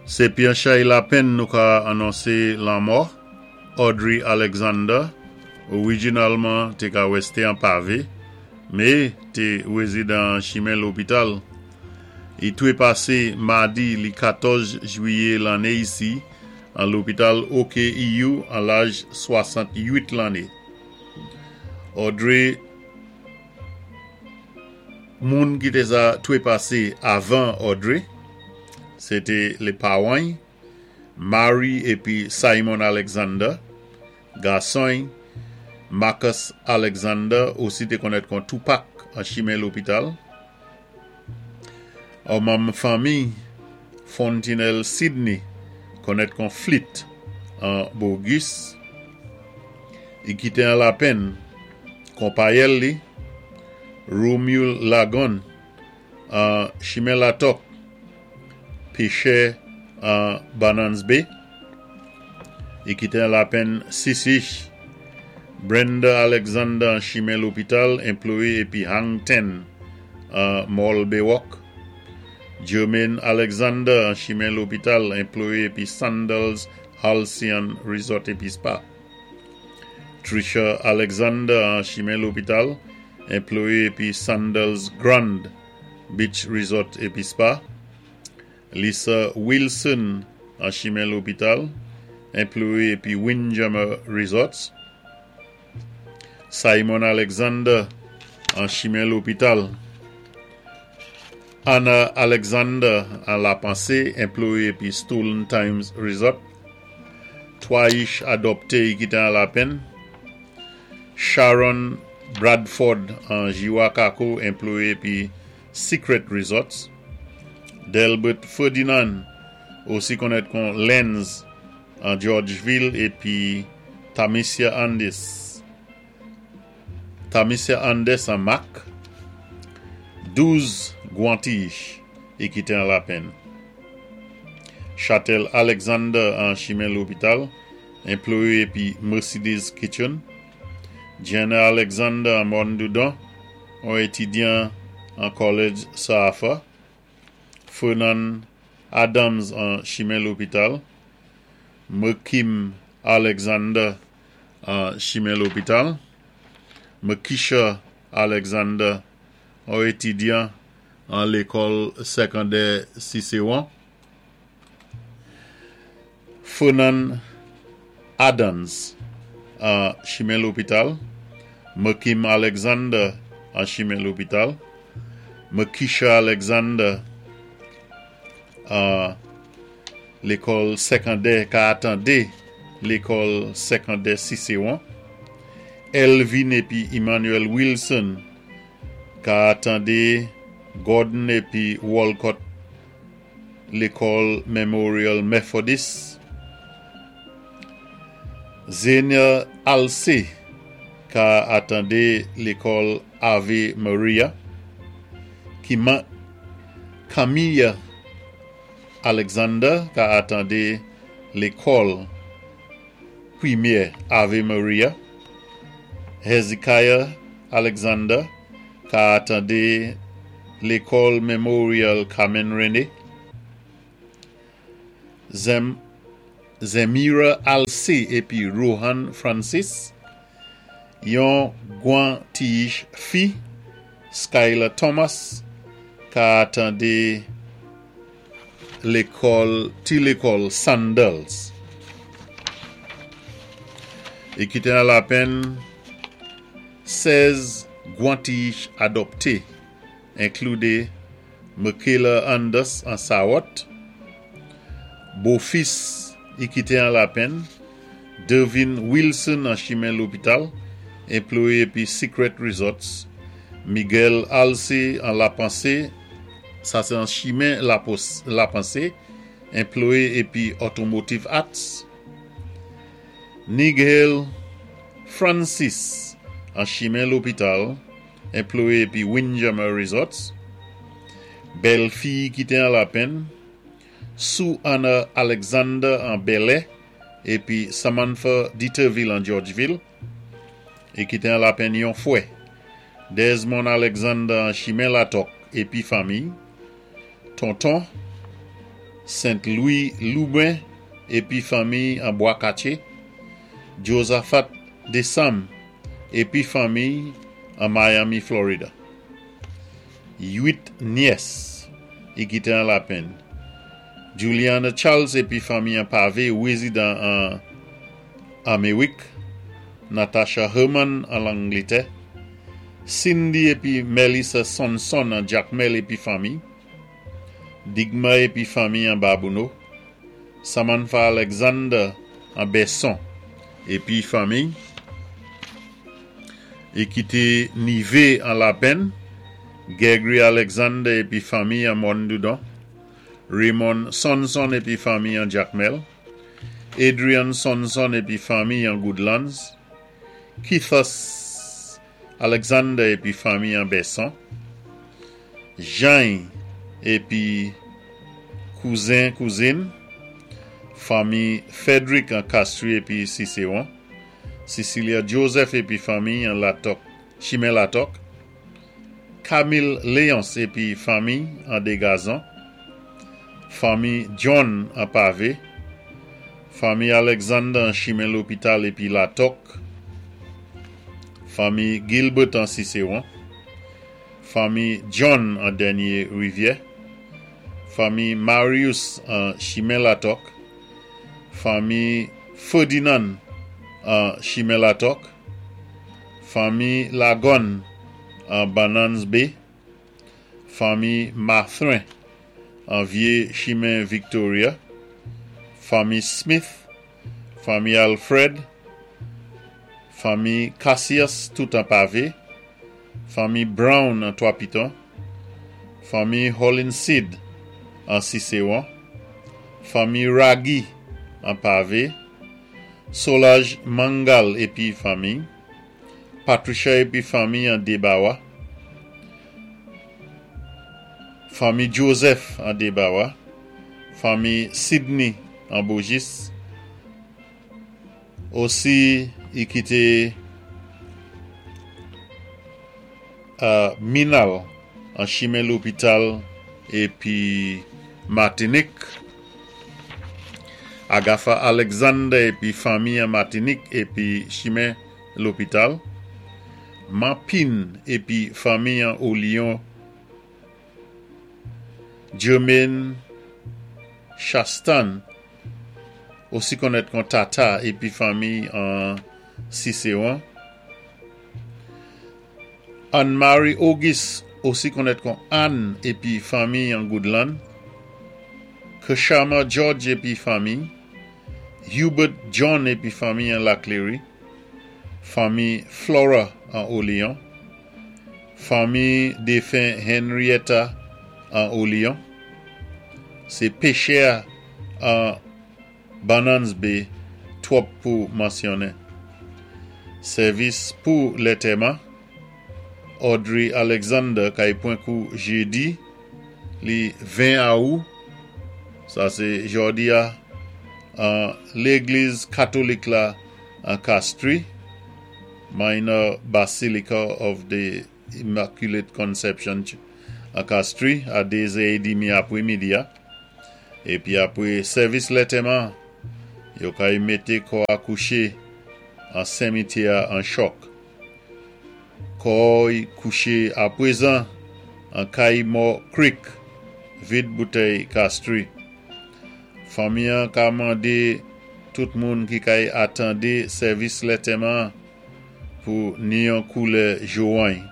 Sé pi an chay lapenn nou ka anonsé lanmò Audrey Alexander, orijinalman té ka wèsté an Pavé, mé té wézidan an chimen lopital. I twépasé madi li 14 jwiyé lanné isi an lopital OKEU an laj 68 lanné. Audrey Moun ki té sa twépasé avan Audrey, sé té lé pawan-y, Mary épi Simon Alexander, gason-y, Marcus Alexander, osi té konnèt kon Tupac an chimen lopital. On manm fanmi Fontinelle Sidney, konnèt kon Fleet an Bogus. I kité an lapenn konpayèl li, Romule Lagon an chimen Latòk, pechè an Bannan's Bay. I kité an lapenn sisich Brenda Alexander an chimen lopital, enployé épi Hang Ten an Mall Baywalk. Jermaine Alexander an chimen lopital, enployé épi Sandals Halcyon Resort épi Spa. Trisha Alexander an chimen lopital, enployé épi Sandals Grand Beach Resort épi Spa. Lisa Wilson an chimen lopital, enployé épi Windjammer Resorts. Simon Alexander an chimen lopital. Anna Alexander an Lapansé, enployé épi Stolen Times Resort. Twa ich adòpté i kité an lapenn. Sharon Bradford an Jiwa Kako, enployé épi Secret Resorts. Delbert Ferdinand, osi konnèt kon Lenz an Georgeville épi Tamicia Andis. Tamicia Andes an Mak, 12 Gwanti-ich i kité an lapenn. Chatel Alexander an chimen lopital, enployé épi Mercedes Kitchen. Jenna Alexander an Mòn Doudon, on étidyan an College Sir Arthur. Fernand Adams an chimen lopital. Mekim Alexander an chimen lopital. Mekisha Alexander, on étidyan an lékòl sèkondè Sisewon. Fernand Adams an chimen lopital. Mekim Alexander an chimen lopital. Mekisha Alexander an lékòl sèkondè ka atandé lékòl sèkondè Sisewon. Elvin épi Emmanuel Wilson ka atandé Gordon épi Walcott lékòl Memorial Methodist. Zenia Alcé ka atandé lékòl Ave Maria. Kima Camilla Alexander ka atandé lékòl Primè Ave Maria. Hezekiah Alexander ka atandé lékòl Memorial Carmen René. Zem Zemira Alcé épi Rohan Francis, yon gwan ti-ich fi, Skylar Thomas, ka atandé lékòl ti lékòl Sandals. I kité an lapenn 16 gwan ti-ich adòpté, enkludé Michaela Anders an Sawòt, bofis i kité an lapenn, Dervin Wilson an chimen lopital, enployé épi Secret Resorts, Miguel Alcé an Lapansé, sa sé an chimen Lapansé, enployé épi Automotive Arts, Nigel Francis an chimen lopital, enployé épi Windjammer Resorts, bèl fi kité an lapenn, Sue Anna Alexander an Bèlè épi Samantha Deterville an Georgeville, i kité an lapenn yon fwè, Desmond Alexander an chimen Latòk épi fanmi, tonton. Sent Lwi Louben épi fanmiy an Bwa Katye, Josaphat Desanm épi fanmiy an Miami, Florida. 8 nyès i kité an lapenn. Juliana Charles épi fanmiy an Pave wézidan an Améwik, Natasha Herman an Langlitè, Cindy épi Melissa Sonson an Jakmèl épi fanmiy, Digma épi fanmiy an Babouno, Samantha Alexander an Bèson épi fanmiy, i kité Nivé an Lapenn, Gregory Alexander épi fanmiy an Mòn Doudon, Raymond Sonson épi fanmiy an Jakmèl, Adrian Sonson épi fanmiy an Goodlands, Keithus Alexander épi fanmiy an Bèson, Jany épi kouzen kouzin, fanmi Frederick an Castries épi Cicéron, Cecilia Joseph épi fanmiy an Latòk, Chimen Latòk, Camille Léonce épi fanmiy an Degazon, fanmi John an Pave, fanmi Alexander an Chimen Lopital épi Latòk, fanmi Gilbert an Cicéron, fanmi John an Dènye Rivyè, fanmi Marius an Chimen Latòk, fanmi Ferdinand an Chimen Latòk, fanmi Lagòn an Bannan's Bay, fanmi Mathurin an Vye Chimen Victoria, fanmi Smith, fanmi Alfred, fanmi Cassius tout an Pave, fanmi Brown an Twa Piton, fanmi Hollinseed an Cicéron, fanmi Ragy an Pave, Solage Mangal épi fanmiy, Patricia épi fanmiy an Debawa, fanmi Joseph an Debawa, fanmi Sidney an Bojis, osi i kité Minal an Chimen Lopital épi Matinik, Agatha Alexander épi fanmi an Matinik épi Chimen Lopital, Manpin épi fanmi an Olion, Germaine Chastan, osi konnèt kon Tata épi fanmi an Cicéron, Anne-Marie Auguste, osi konnèt kon Anne épi fanmi an Goodland, Keshama George épi fanmi, Hubert John épi fanmi an Laclery, fanmi Flora an Olion, fanmi défen Henrietta an Olion, sé péchè an Bannan's Bay twòp pou mansyonnen. Sèvis pou lètèman, Audrey Alexander kay pwan kou jédi li 20 awou, sa sé jòdi a, an légliz katolik la an Castries, Minor Basilica of the Immaculate Conception an Castries a 2 zè édmi apwémidi a. Épi apwé sèvis lètèman, yo kay mété kò a kouché an senmityè a an Chòk. Kò y kouché apwézan an Kayimò Creek, vid boutèy Castries. Fanmi an ka mandé tout moun ki kay atandé sèvis lètèman an pou ni yon koulè jowany.